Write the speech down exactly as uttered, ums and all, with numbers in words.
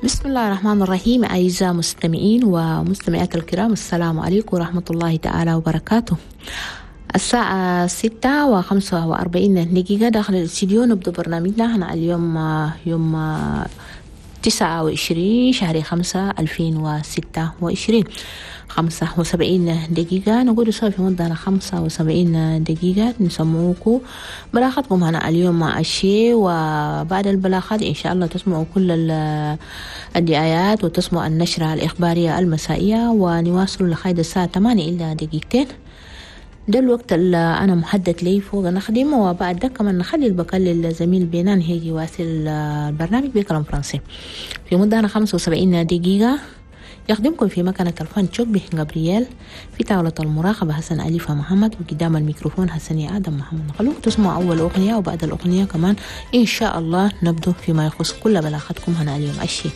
بسم الله الرحمن الرحيم. أعزائي المستمعين ومستمعات الكرام، السلام عليكم ورحمة الله تعالى وبركاته. الساعة ستة وخمسة وأربعين دقيقة داخل الاستديو نبدأ برنامجنا هنا اليوم، يوم تسعة وعشرين شهر خمسة ألفين وستة وعشرين، خمسة وسبعين دقيقة. نقول سوا في مدة خمسة وسبعين دقيقة نسموكو بلاغاتكم هنا اليوم مع الشيء، وبعد البلاغات إن شاء الله تسمعوا كل الدعايات وتسمعوا النشرة الإخبارية المسائية، ونواصل لغاية الساعة ثمانية إلا دقيقتين. ده الوقت اللي أنا محدد لي فوق نخدمه، وبعد ده كمان نخلي البقاء للزميل بينان هيجي واصل البرنامج بكلام فرنسي في مدة خمسة وسبعين دقيقة. يخدمكم في مكنة الفن شوبي جابرييل، في طاولة المراقبة حسن أليفة محمد، وقدام الميكروفون حسن آدم محمد. نخلوكم تسمعوا أول أغنية، وبعد الأغنية كمان إن شاء الله نبدو فيما يخص كل بلاغاتكم هنا اليوم الشيء.